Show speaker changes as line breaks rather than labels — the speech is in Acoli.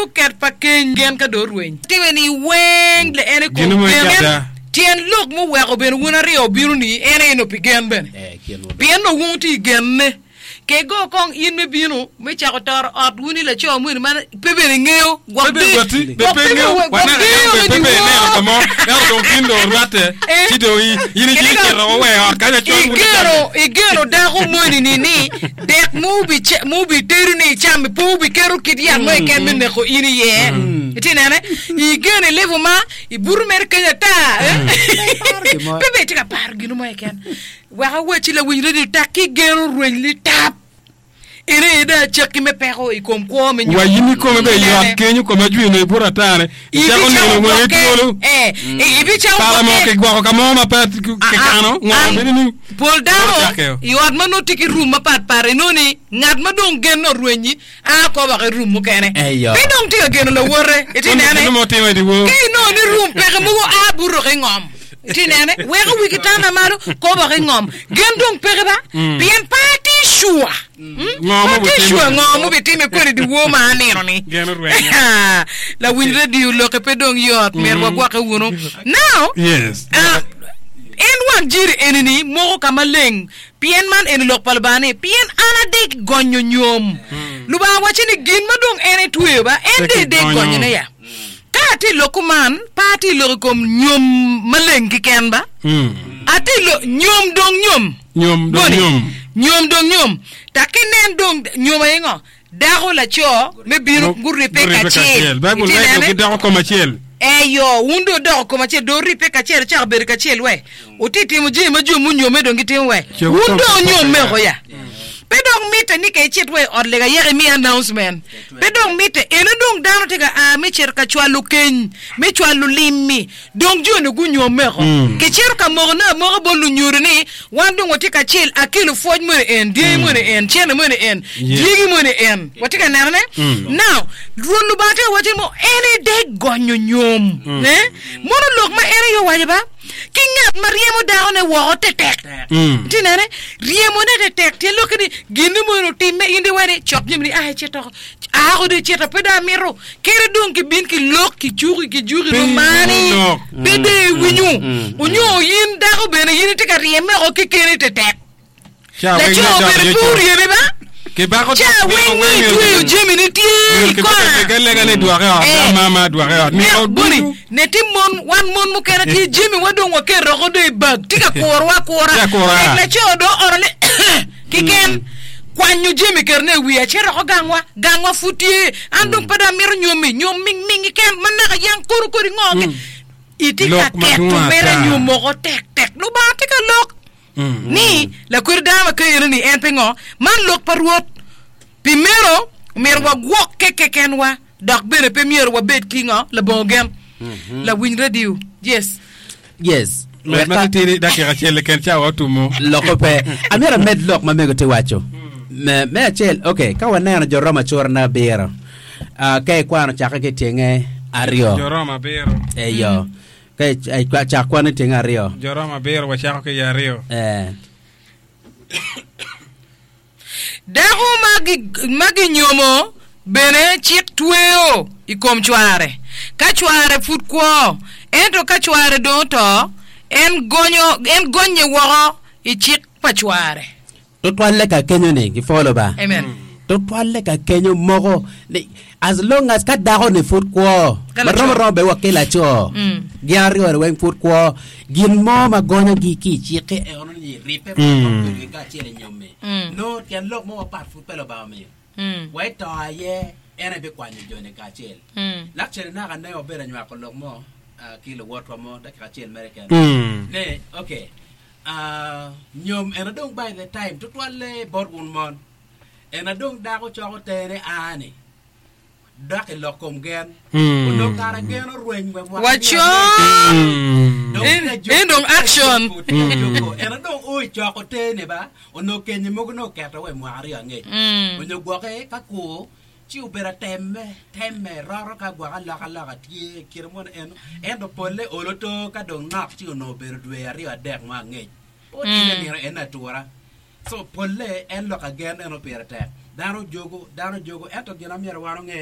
radio ket pa keny gen ka dong orweny. Time ni weng le en i kom
Gin mo
gen.
icata.
Tyen lok muweko bene wun aryo obino ni en aye nongo pi gen bene. Pien nongo wun wutye i genne. Ke go kong in me bino me cako toro ot wun i laco moni ma pe bene ingeyo gwok
Pe bene gwati, be
gwok
pe
pe
ingeyo,
bene gwok
waneno
deyo
yam
me
be pe bene
dyewor.
ineno ka mo, ento dong tin dong orwatte,
Eh.
ci dong i- in
Kadi
icito
ka-
icito wa i ot kany acol wun
Igeno,
icame.
igeno dako moni ni ni dek mubice- mubitedo ni icam-mi pe obiketo kit yat mo keken me neko in iye. Itye nene? Igeno ilevo ma ibuto mere keny ata. eh?
Paro gin mo.
Pe bene itye ka paro gin mo keken. Wek awacci lawiny redio tak ki geno rweny litap. En aye dong acakki me peko i kom kwo me nyom.
Wa in ikome bene yot kenyo kome ajwino i buto ata-ni, icako nino wangi twolo.
Ibicako
Pala mo
gwokke.
kigwoko ka mo ma pe kikano, ngo
An-
bedo ni
Pol dano
Ocakke.
i ot ma nongo tye ki rum mapat pat inongo ni ngat ma dong genne orwenyi a oko woko i rum mukene.
Eyo.
Pe dong tye ka geno lawote. Itye
Onongo
nene?
gin mo timo i dyewor.
Ka inongo ni rum peke mogo a buto ki ngom. Itye nene? Weko wi kitanda malo, kobo ki ngom. Gen dong peke ba? Pien pe atye sure.
Ngo ma
Pe atye
obitime?
sure ngo mubitime kwede dyewor ma anino-ni.
Gen orwenyo.
Lawiny radio lokke pe dong yot, myero wagwokke wunu. Now,
Yes.
ah, en wang jiri eni-ni moko ka maleng, pien man eni lok pa Lubanga ni, pien an adek gonyo nyom. Lubanga wacce ni gin ma dong en etweyo ba, en
Pe
dong edek
kigonyo.
gonyone ya. Ka atye i lok kuman, pe atye i lok i kom nyom maleng keken ba. Atye i lok nyom dong nyom.
Nyom dong
Boni,
nyom.
Nyom dong nyom. Tak inen dong nyom aye ngo? Dako laco me bino guribbe
Guribbe
kacel.
kacel. Baibul
Itye
waco
nene?
gidoko kom acel.
Eyo, wun dong wudoko kom acel, dong wuribbe kacel, wucako bedo kacel we. Wutye timo jami ma jo munyomme dong gitimo we.
Ce
Wun
wukom
dong wunyomme
kacel.
oko ya. Pe dong mitte ni ka icit wa i ot lega yaka imi announcement. Pe dong mitte. Eno dong dano tye ka a me cito ka cwalo keny, me cwalo lim-mi. Dong jo-ni gunyomme oko. Kicito ka mokone amoka bot lunyodo ni, Wan dong watye kacel, akelo pwoc moni en, dyangi moni en, cente moni en, dyegi moni en. Watye ka nenone? Now, Rwot Lubanga tye ka waco ni mo, en aye dek gonyo nyom. Eh? Mono lok ma en aye owaco ba? Ki ngat ma ryemo dakone woko tetek. Itye nene? Ryemone tetek tyen lokke ni ginne moni otimme in dong iwaco ni cok jami ni a icito oko. Aako dong icito pe dong amito. Kadi dong kibin kilok kicuki kijuki
Pe
romani
iwinyo lok.
pe dong iwinyo. Onyo in dako bene in itye ka ryeme oko kekeni tetek.
Ca weng
Laco
me dok
obedo
iye
pe
co.
oryeme ba?
Kibako
Ca
dok
weng
myero
nongo
weng
itweyo jami ni tye
myero
i
kibed
kona.
ka lega ni dwoke i ot
Eh.
da mama dwoke i ot
Myero
myero
boni
ducu
ne tye mon wan mon mukene tye jami wa dong waketo oko dong i bag tye ka kurowa akura
Tye akura.
tek laco dong ooro ni keken kwanyo jami ketone i wiye acito oko gangwa gangwa pud tye an dong pe dong amito nyomi nyom ming ming keken ma naka yang kono kodi ngo ki itye ka
Lok
keto
madwong
mere
ata.
nyom moko tek tek Lubanga tye ka lok ni lakwed dano ma keyone ni en pingo? Man lok pa Rwot. Pi meno, myero wagwokke kekenwa dok bene pe myero wabed ki ngo? Labongo gen. Lawiny radio. Yes.
Yes.
Med ma titidi dakika acel keken cawa otumo.
Loko pe. Amyero amed lok ma mego tye waco. Me, me acel, okay, ka waneno jo Roma cura na abiro, ah, ka ikwano cakke ki tyenge aryo.
Jo Roma abiro.
Eyo. Ka i- cak kwan i tyeng aryo.
Jo Roma abiro wacako ki i aryo.
Eh.
Dako ma gi- ma ginyomo bene cik tweyo i kom cware ka cware pud kwo, ento ka cware dong oto, en gonyo, en gonye woko i cik pa cware.
Tutwalle ka kenyo ni gipwolo ba.
Amen.
Tutwalle ka kenyo moko ni as long as ka dako ni pud kwo
Ka
ma
laco.
romo romo bene wa ki laco
Mm.
gin aryo ni weng pud kwo gin mo ma gonyogi ki i cikke eno ni ribbe ma
Mm.
bedo kacel i nyomme
Mm.
nongo tyen lok mo mapat pud pe Lubanga omiyo
Mm.
wa i to aye en aye bikwanyo joni kacel.
Mm.
Lakcene naka ne wabedo anywako lok mo ah, ki luwotwa mo dakika acel mere keken
Mm.
ne okay Nyom ena dong by the time tutwalle bot wun mon ena dong dako coko tene aa ni dok i lok kom gen onongo kara gen orweny wa mwaka
Wacon!
Dong
En-
tye ka
en dong
tye ka
action.
juko, tye ka juko. Ena dong o i coko tene ba onongo kenye mogo nongo oketo wa i mwaka aryo angec onyo gwoke ka kur Ci obedo atemme, temme, roto ka gwok alokaloka tye i kine mono eno, ento polle olo to ka dong nok ci onongo obedo dwe aryo adek mo angec. Pe otimme nino eno atura. So polle en lok agen eno pire tek. Dano jogo, dano jogo, ento gin ma myero wan onge.